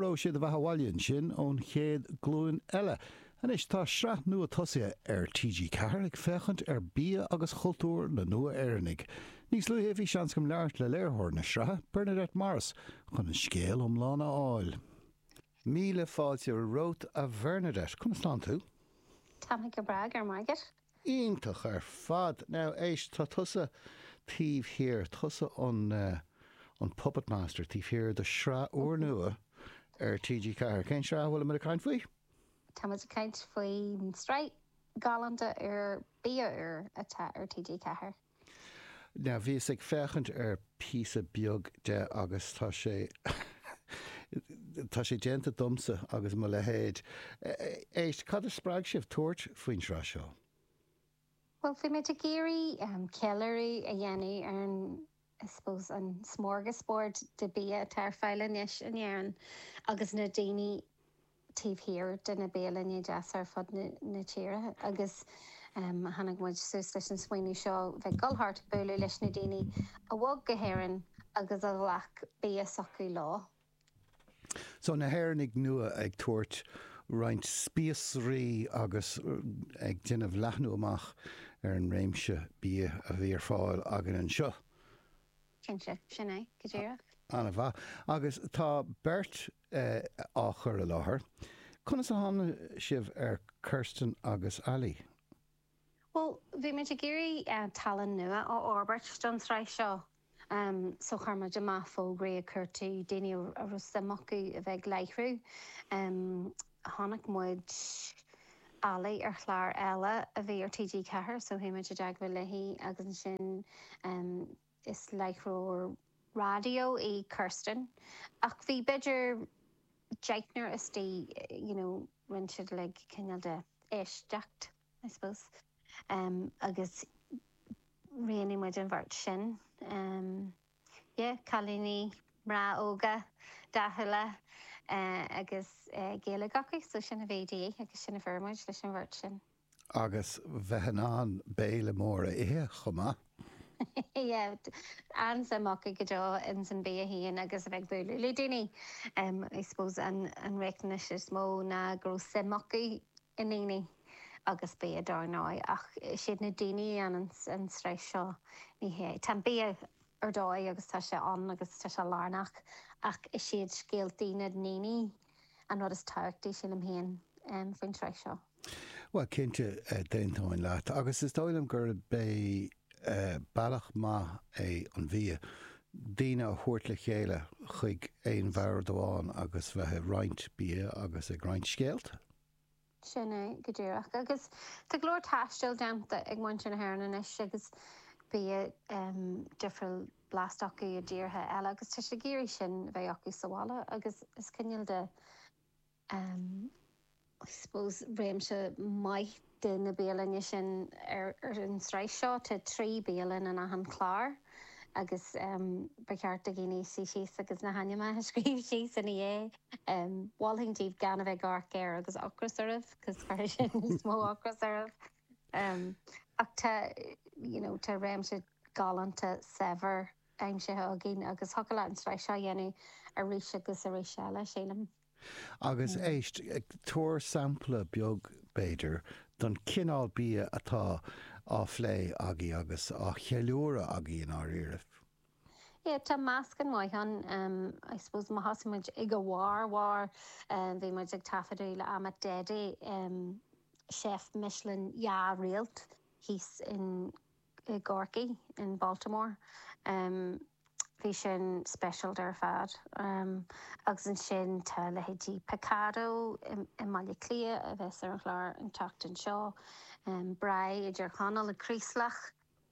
raibh sé do bheatha abhaile ansin ón chéad glúin eile. Anois tá sraith nua tosaithe ar TG4 ag féachaint ar bia agus chultúr na nua-Éireannaigh. Níos luaithe bhí seans agam labhairt le léiritheoir na sraithe, Bernadette Morris, chun an scéal iomlán a fháil. Míle fáilte romhat a Bhernadette. Conas tánn tú? Tá mé go breá, go raibh maith agat. Iontach ar fad. Now, éist, tá tusa taobh thiar, tusa an an puppet master taobh thiar de shraith úrnua ar TG4. Cén sraith a bhfuilimid ag caint faoi? Táimid ag caint faoin tsraith ghalánta úr Bia Úr atá ar TG4. Now, bhíos ag féachaint ar píosa beag de agus tá sé, tá sé déanta domsa agus mo leithéid. Éist, cad a spreag sibh tabhairt faoin tsraith seo? Bhuel, bhí muid ag iarraidh ceiliúradh a dhéanamh ar an, I suppose, an smorgasbord de bia atá ar fáil anois in Éirinn agus na daoine taobh thiar de na bialanna deasa ar fud na tíre agus tháinig muid suas leis an smaoineamh seo bheith ag dul thart ag bualadh leis na daoine a bhog go hÉirinn agus a ghlac bia s'acu leo. So na hÉireannaigh nua ag tabhairt roinnt spíosraí agus ag déanamh leathnú amach ar an réimse bia a bhí ar fáil againn anseo. Cinnte, sin é, go díreach. An-mhaith. Agus tá beirt á chur i láthair. Conas a tháinig sibh ar Kirsten agus Ali? Bhuel, bhí muid ag iarraidh tallann nua a fhorbairt don tsraith seo so chuir muid amach fógraí ag cuartú daoine a raibh suim acu a bheith ag láithriú. Chonaic muid Ali ar chlár eile a bhí ar TG4 so chuaigh muid i dteagmháil léi agus ansin is láithreoir raidió í Kirsten ach bhí b'fhéidir deichniúr istigh you know rinne siad like cineál de éisteacht I suppose agus roghnaigh muid an bheirt sin. Yeah, cailíní, mná óga, dathúla agus Gaeilge acu so sin a bhí de dhíth agus sin a fuair muid leis an bheirt sin. Agus bheith in ann béile mór a ithe chomh maith. Yeah, an-suim acu go deo ins an bia féin agus a bheith ag bualadh le daoine. I suppose an riachtanais is mó ná go raibh suim acu i ndaoine agus bia dar ndóigh ach is iad na daoine a dhéanann an tsraith seo, ní hea, tá an bia ar dóigh agus tá sé ann agus tá sé lárnach ach is iad scéaltaí na ndaoine an rud is tábhachtaí sílim féin faoin tsraith seo. Bhuel, cinnte, d'aontóinn leat. Agus is dóigh liom gurb é bealach maith é an bhia, daoine a thabhairt le chéile chuig aon bhord amháin agus bheith ag roinnt bia agus ag roinnt scéalta. Sin é go díreach. Agus tá go leor taistil déanta ag muintir na hÉireann anois agus bia difriúil blasta acu i dtíortha eile agus tá siad ag iarraidh sin a bheith acu sa bhaile agus is cineál de I suppose, réimse maith de na bialanna sin ar an tsraith seo. Tá 3 bialann in achan chlár agus ba cheart do dhaoine suí síos agus na hainmneacha a scríobh síos ina dhiaidh. Mholfainn daoibh gan a bheith ag amharc air agus ocras oraibh cos chuirfeadh sin níos mó ocras oraibh. Ach tá, you know, tá réimse galánta saibhir aimsithe againn agus thiocfadh leat an tsraith seo a dhéanamh arís agus arís eile, sílim. Agus éist, tabhair sampla beag, b'fhéidir, don chineál bia atá á phlé agaibh agus á cheiliúradh agaibh i ndáiríribh. Yeah, tá meascán maith ann. I suppose má thosaigh muid ag a bharr, bharr, bhí muid ag taifeadadh le Amit Dede, chef Michelin dhá réalt thíos in i gCorcaigh, in Baltimore. Bhí sin speisialta ar fad. Agus ansin tá leithéidí Picado i mBaile Átha Cliath a bheas ar an chlár an tseachtain seo, Braai i dTír Chonaill i Craoslach,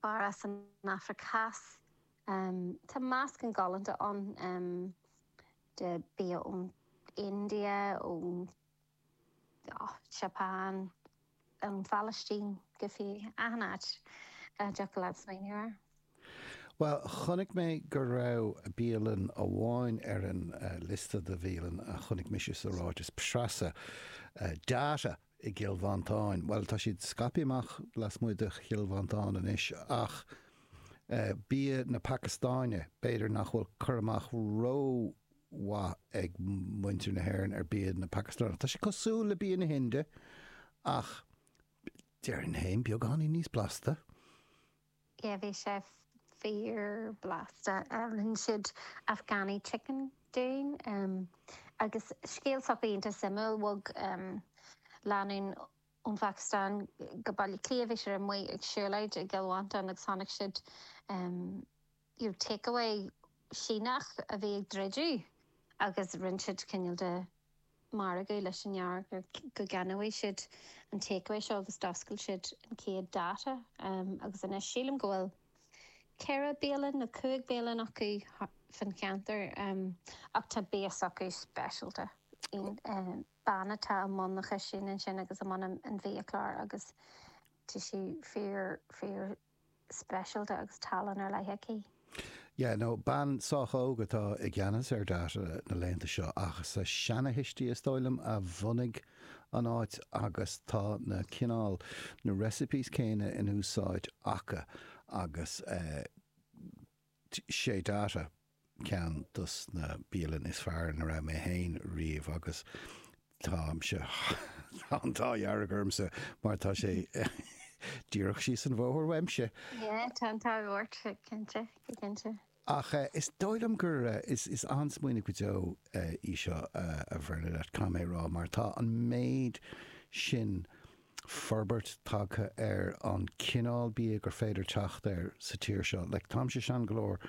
fear as an Afraic Theas. Tá meascán galánta ann de bia ón India, ón. Seapáin, an Phalaistín go fiú, achan áit a dtiocfadh leat smaoineamh air. Bhuel, chonaic mé go raibh bialann amháin ar an liosta de bhialann a chonaic mise sa ráiteas preasa, Daata i gCill Mhantáin. Bhuel, tá siad scaipthe amach lasmuigh de Chill Mhantáin anois ach bia na Pacastáine, b'fhéidir nach bhfuil cur amach ró. mhaith ag muintir na hÉireann ar bia na Pacastáine. Tá sé cosúil le bia na hInde ach déarfainn féin beagáinín níos blasta. Yeah, bhí sé fíor blasta. Rinne siad Afghani chicken dúinn agus scéal s'acu iontach suimiúil. Bhog lánúin ón Phacastáin go Baile Átha Cliath, bhí siad amuigh ag siúlóid i gCill Mhantáin agus chonaic siad you know takeaway Síneach a bhí ag druidim agus rinne siad cineál de margadh leis an fhear go gceannóidh siad an takeaway seo agus d'oscail siad an chéad Daata agus anois sílim go bhfuil ceithre bialann nó cúig bialann acu fan cheantar ach tá bia s'acu speisialta. Bean atá i mbun na cistine ansin agus i mbun an bhiachláir agus tá sí fíor fíor speisialta agus tallann ar leith aici. Yeah, no, bean sách óg atá i gceannas ar Daata na laethanta seo ach is a seanathuistí is dóigh liom a bhunaigh an áit agus tá na cineál, na recipes céanna in úsáid acu agus eh, sé Daata. ceann dos na bialanna is fearr ina raibh mé féin riamh agus táimse, tá an t-ádh dearg ormsa mar tá sé díreach síos an bhóthar uaimse. Yeah, tá an t-ádh ort, cinnte, go cinnte. Ach is dóigh liom gur, is an-smaoineamh go deo í seo, a Bhernadette, caithfidh mé a rá, mar tá an méid sin forbairt tagtha ar an cineál bia gur féidir teacht air sa tír seo. Like, táimse sean go leor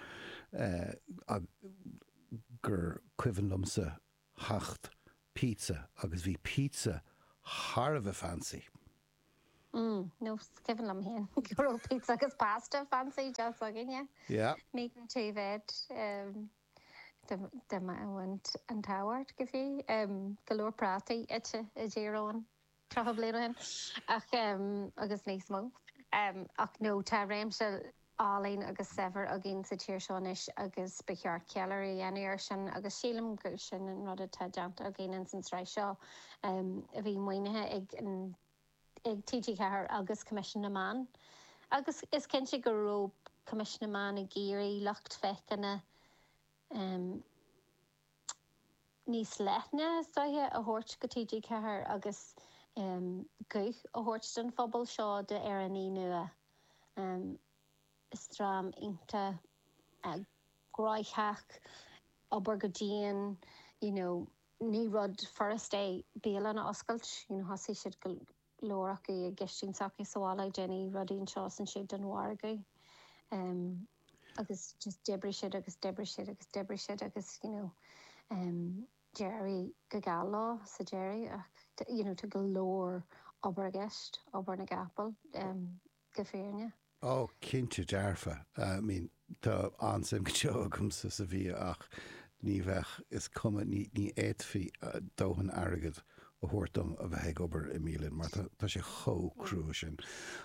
gur cuimhin liomsa theacht pizza agus bhí pizza thar a bheith fancy. Mm, no, is cuimhin liom féin go raibh pizza agus pasta fancy just againne. Yeah. Meat and two veg. Dá mbeadh an t-ádh ort go fiú. Go leor prátaí ite i dTír Eoghain. 30 bliain ó shin ach agus níos mó. Ach no, tá réimse álainn agus saibhir againn sa tír seo anois agus ba cheart ceiliúradh a dhéanamh air sin agus sílim gur sin an rud atá déanta againn ins an tsraith seo a bhí maoinithe ag an ag TG4 agus Coimisiún na Meán. Agus is cinnte go raibh Coimisiún na Meán ag iarraidh lucht féachana níos leithne, is dóiche, a thabhairt go TG4 agus guth a thabhairt don phobal seo d'Éireannaigh nua. Is dream iontach gnóthach, obair go dian, you know, ní rud furast é bialann a oscailt, you know, thosaigh siad go leor acu i gcistin s'acu sa bhaile ag déanamh rudaí anseo is ansiúd don mhargadh agus just d'oibrigh siad agus d'oibrigh siad agus d'oibrigh siad agus you know d'éirigh go geal leo sa deireadh ach you know tá go leor obair i gceist, obair na gcapall go fírinneach. Ó, cinnte dearfa. I mean, tá an-suim go deo agamsa sa bhia ach ní bheadh, is cuma, ní, ní fhéadfaí dóthain airgid a thabhairt dom a bheith ag obair i mbialann mar tá, tá sé chomh crua sin.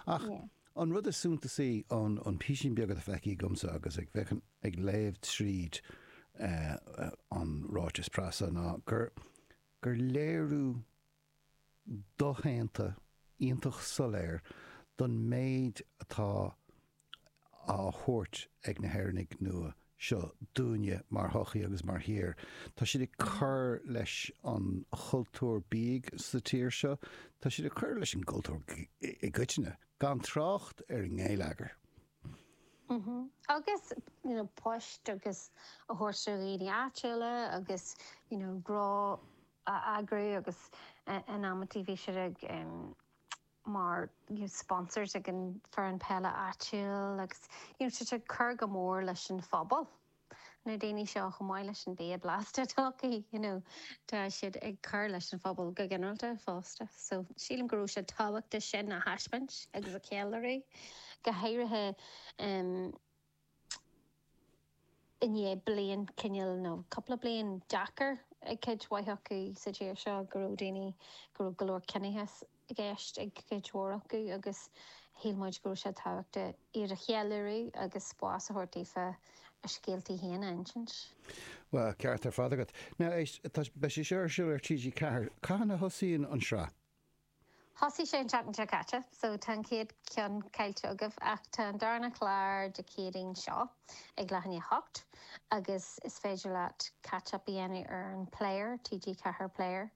Ach an rud is suntasaí ón, ón písín beag atá feicthe agamsa agus ag féachaint, ag léamh tríd an ráiteas preasa ná gur, gur léiriú doshéanta, iontach soiléir don méid atá á thabhairt ag na hÉireannaigh nua seo dúinne mar shochaí agus mar thír. Tá siad ag cur leis an chultúr bídh sa tír seo, tá siad ag cur leis an gcultúr i gcoitinne, gan trácht ar an ngeilleagar. Agus you know poist agus a thabhairt do dhaoine áitiúla agus you know gnó a eagrú agus in amantaí bhí siad ag mar you know sponsors ag an foireann peile áitiúil agus you know tá siad ag cur go mór leis an phobal. Na daoine seo chomh maith leis an bia blasta atá acu you know tá siad ag cur leis an phobal go ginearálta fosta. So sílim go raibh sé tábhachtach sin a thaispeáint agus a cheiliúradh go háirithe i ndiaidh bliain cineál nó cúpla bliain deacair ag cuid mhaith acu sa tír seo, go raibh daoine, go raibh go leor ciníochas i gceist ag cuid mhór acu agus shíl muid go raibh sé tábhachtach iad a cheiliúradh agus spás a thabhairt daofa a scéaltaí féin a insint. Bhuel, ceart ar fad agat. Now, éist, tá, beidh sé seo ar siúl ar TG4. Cathain a thosaíonn an sraith? Thosaigh sé an tseachtain seo caite, so tá an chéad cheann caillte agaibh, ach tá an darna clár Dé Céadaoin seo ag leath i ndiaidh a hocht agus is féidir leat catch up a dhéanamh ar an Player, TG4 Player,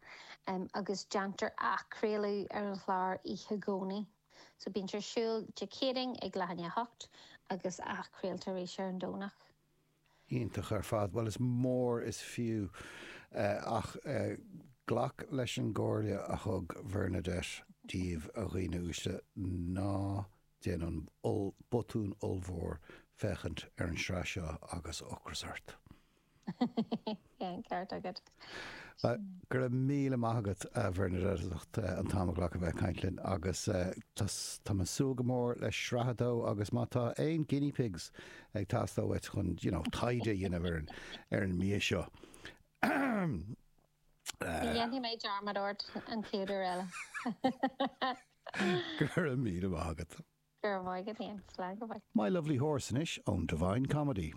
agus déantar athchraoladh ar an chlár oíche Dhomhnaigh. So bíonn sé ar siúl Dé Céadaoin ag leath i ndiaidh a hocht agus athchraolta arís ar an Domhnach. Iontach ar fad. Bhuel, is mór is fiú ach glac leis an gcomhairle a thug Bhernadette daoibh, a dhaoine uaisle, ná déan an botún ollmhór féachaint ar an sraith seo agus ocras ort. Yeah, an ceart agat. Go raibh míle maith agat, a Bhernadette, as ucht an t-am a ghlacadh bheith ag caint linn agus tá mé ag súil go mór le sraith a dó agus má tá aon guinea pigs ag teastáil uait chun, you know, taighde a dhéanamh ar an, ar an mbia seo. Ní dhéanfaidh mé dearmad ort an chéad uair eile. Go raibh míle maith agat. Go raibh maith agat féin. Slán go fóill. My Lovely Horse anois ón Divine Comedy.